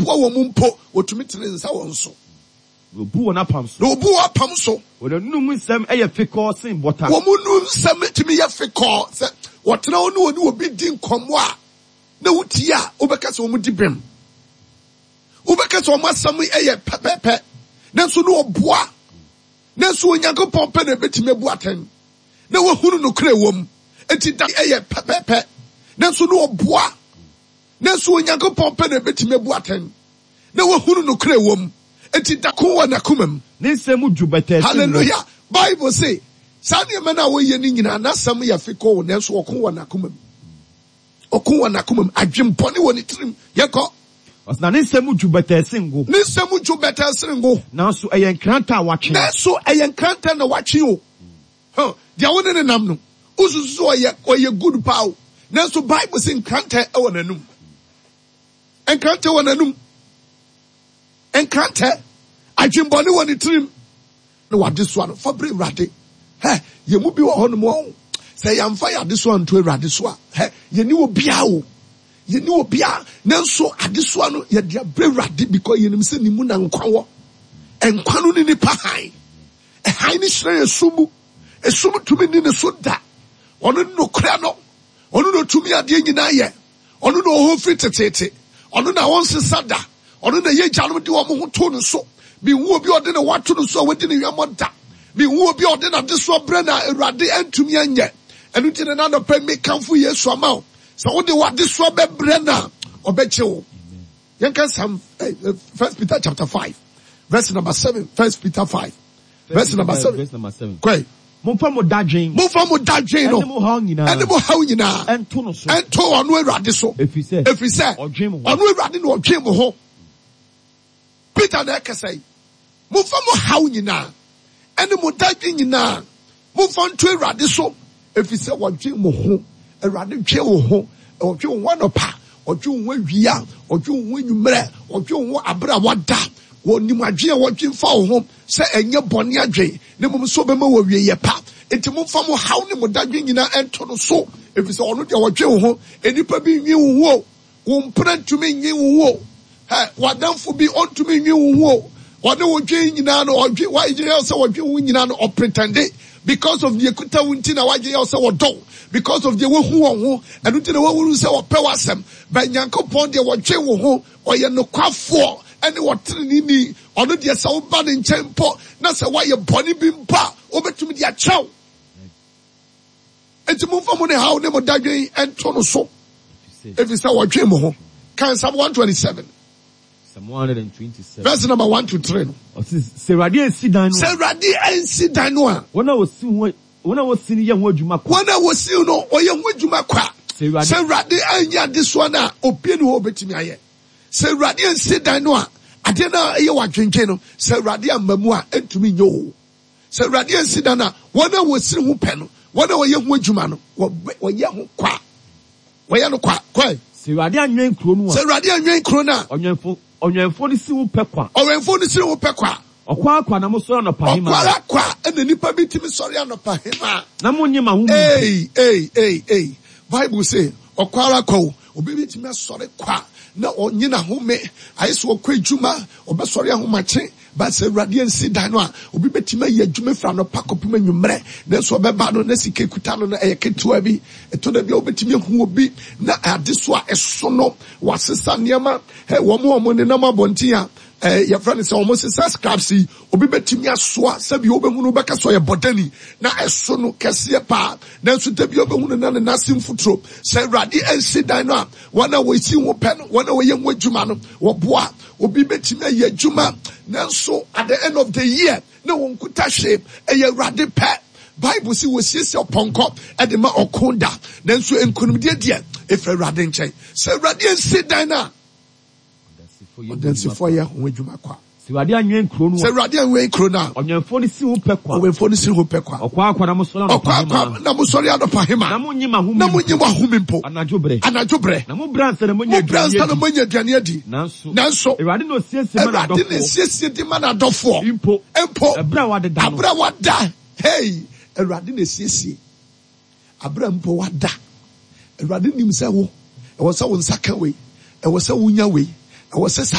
ɔboa wɔn mpo, ɔtumi tene nsa wɔn so. Na ɔbu wɔn apam so. Na ɔbu wɔn apam so. Wɔn anum nsɛm yɛ fekɔɔ sen bɔta. Wɔn anum nsɛm tumi yɛ fekɔɔ. Sɛ wɔtena hɔ ne wɔne obi di nkɔmmɔ a, na wotie a, wobɛka sɛ wɔn di bem. Wobɛka sɛ wɔn asɛm yɛ pɛpɛpɛ. Nanso na ɔboa. Nanso Onyankopɔn pɛ na ebetumi abu atɛn na wahunu nokorɛ wɔ mu. Enti da yɛ pɛpɛpɛ. Nanso na ɔboa. Nanso Onyankopɔn pɛ na ebetumi abu atɛn na wahunu nokorɛ wɔ mu. Enti da ko wɔ n'akoma mu. Ne nsɛm mu dwo bɛtɛɛ sen ngo. Hallelujah! Bible se, saa nneɛma no a wɔyɛ no nyinaa, n'asɛm yɛ fekɔɔ, nanso ɔko wɔ n'akoma mu. Ɔko wɔ n'akoma mu. Adwempɔne wɔ ne tirim. Yɛnkɔ. Ɔse, na ne nsɛm mu dwo bɛtɛɛ sen ngo. Ne nsɛm mu dwo bɛtɛɛ sen ngo. Nanso ɛyɛ nkrantɛ a wɔatwe. Nanso ɛyɛ nkrantɛ na wɔatwe o. Huh, deɛ wo ne no nam no, wosusu sɛ ɔyɛ, ɔyɛ good paa o. Nanso Bible se nkrantɛ wɔ n'anum. Nkrantɛ wɔ n'anum. Nkrantɛ, adwembɔne wɔ ne tirim. Ne w'adesoa no, fa brɛ Awurade. Hɛ, yɛn mu bi wɔ hɔnom a, sɛ yɛamfa yɛn adesoa anto Awurade so a, hɛ, yɛnni obiara o. Yɛnni obiara. Nanso adesoa no, yɛde abrɛ Awurade because yɛnim sɛ ne mu na nkwa wɔ. Nkwa no ne nipa hann. Hann no hyerɛn esum mu. Esum ntumi nni ne so da. Ɔno ne nokorɛ no. Ɔno na ɔtumi adeɛ nyinaa yɛ. Ɔno na ɔwɔ hɔ firi teteete. Ɔno na ɔnsesa da. Ɔno na yɛn agyanom de wɔn ho too no so. Menhu obi a ɔde ne ho ato no so a wadi ne hwammɔ da. Menhu obi a ɔde n'adesoa brɛ no a Awurade antumi anyɛ. Ɛno nti na nnɛ anɔpa yi mekamfo Yesu ama wo. Sɛ wode w'adesoa bɛbrɛ no a, ɔbɛgye wo. Yɛnka Psalm, First Peter chapter 5, verse number 7. First Peter 5, verse number 7. Verse number 7. Kɔe. Momfa mo dadwen. Momfa mo dadwen no. Ɛne mo haw nyinaa. Ɛne mo haw nyinaa. Ɛnto no so. Ɛnto ɔno Awurade so. Ɛfiri sɛ. Ɛfiri sɛ. Ɔdwen mo ho. Ɔno Awurade na ɔdwen mo ho. Peter na ɛkasa yi. Momfa mo haw nyinaa. Ɛne mo dadwen nyinaa. Momfa nto Awurade so, ɛfiri sɛ ɔdwen mo ho. Awurade dwen wo ho. Ɔdwen wo ho anɔpa, ɔdwen wo ho awia, ɔdwen wo ho anwummerɛ, ɔdwen wo ho aberɛ a wada. Ɔnim adwene a ɔdwen fa wo ho, sɛ ɛnyɛ bɔne adwene, na mmom sɛ ɔbɛma wo awieeɛ pa. Enti momfa mo haw ne mo dadwen nyinaa nto no so, ɛfiri sɛ ɔno deɛ ɔdwen wo ho. Nnipa bi nnwen wo ho o. Wo mpena ntumi nnwen wo ho o. Hɛ, w'adamfo bi, ɔntumi nnwen wo ho o. Ɔne wo dwen nyinaa no, ɔdwen, w'adwen yɛ wo sɛ ɔdwen wo nyinaa no, ɔpretɛnde. Because of deɛ ekuta wo nti na w'adwen yɛ wo sɛ ɔdɔ wo. Because of deɛ wahu wɔ ho, ɛno nti na wahunu sɛ ɔpɛ w'asɛm. But Nyankopɔn deɛ ɔdwen wo ho, ɔyɛ nokwafoɔ ɛne ɔteneneeni. Ɔno deɛ sɛ woba ne nkyɛn mpo na sɛ woayɛ bɔne bi mpo a, ɔbɛtumi de akyɛ wo. Enti momfa mo ne haw ne mo dadwen nto no so, efisɛ ɔdwen mo ho. Kan Psalm 127. Psalm 127. Verse number 1 to 3 no. Ɔse, sɛ Awurade ansi dan no a. Sɛ Awurade ansi dan no a. Wɔn a wɔsi ho, wɔn a wɔsi no yɛ ho adwuma kwa. Wɔn a wɔsi no, wɔyɛ ho adwuma kwa. Sɛ Awurade anyɛ adesoa no a, obi ni hɔ a obetumi ayɛ. Sɛ Awurade ansi dan no a, adeɛ no a ɛyɛ w'adwendwen no, sɛ Awurade amma mu a, ɛntumi nyɛ o. Sɛ Awurade ansi dan a, wɔn a wɔsiri ho pɛ no, wɔn a wɔyɛ ho adwuma no, wɔyɛ ho kwa. Wɔyɛ no kwa. Kɔe. Sɛ Awurade anwɛn kuro no a. Sɛ Awurade anwɛn kuro no a. Ɔwɛnfo, ɔwɛnfoɔ no si ho pɛ kwa. Ɔwɛnfoɔ no siri ho pɛ kwa. Ɔkwa ara kwa na mosɔre anɔpa hema. Ɔkwa ara kwa na nnipa bi tumi sɔre anɔpa hema. Na monnye mo ahome mpo. Ei, ei, ei, ei. Bible se, ɔkwa ara kwa o. Obi betumi asɔre kwa na ɔnye n'ahome. Ayɛ sɛ ɔkɔ adwuma, ɔbɛsɔre ahomakye. But sɛ Awurade ansi dan no a, obi bɛtumi ayɛ adwuma firi anɔpa kɔpem anwummerɛ, nanso ɔbɛba no na sika ekuta no no ɛyɛ ketewa bi. Ɛtɔ da bi a wobɛtumi ahu obi na adesoa a ɛso no, wasesa nneɛma. Hɛ, wɔn a wɔnenam abɔnten a eh, yɛfrɛ no sɛ wɔn sesa scraps yi, obi bɛtumi asoa sɛbi wobɛhu no wobɛka sɛ ɔyɛ bɔdani na ɛso no kɛseɛ paa, nanso da bi wobɛhu no na ne nan ase mfuturo. Sɛ Awurade ansi dan no a, wɔn a wɔsi ho pɛ no, wɔn a wɔyɛ ho adwuma no, wɔboa. Obi bɛtumi ayɛ adwuma nanso at the end of the year na wɔnkuta hwee. Ɛyɛ Awurade pɛ. Bible se wɔsiesie ɔpɔnkɔ de ma ɔko da, nanso nkonimdie deɛ ɛfiri Awurade nkyɛn. Sɛ Awurade ansi dan no a, ɔdansifoɔ yɛ ho adwuma kwa. Sɛ Awurade anwɛn kuro no a. Sɛ Awurade anwɛn kuro no a. Ɔwɛnfoɔ no si ho pɛ kwa. Ɔwɛnfoɔ no si ho pɛ kwa. Ɔkwa ara kwa na mosɔre anɔpa hema. Ɔkwa ara kwa na mosɔre anɔpa hema. Na monnye mo ahome mpo. Na monnye mo ahome mpo. Anadwo berɛ. Anadwo berɛ. Na mobrɛ ansa na moanya aduane adi. Mobrɛ ansa na moanya aduane adi. Nanso. Nanso. Awurade na ɔsiesie ma n'adɔfoɔ. Awurade na ɛsiesie de ma n'adɔfoɔ. Mpo. Mpo. Ɛberɛ a wɔadeda no. Aberɛ a wɔada. Hey! Awurade na ɛsiesie. Aberɛ a mpo wada. Awurade nim sɛ wo, ɛwɔ sɛ wo nsa ka wei. Ɛwɔ sɛ wonya wei. Ɛwɔ sɛ saa.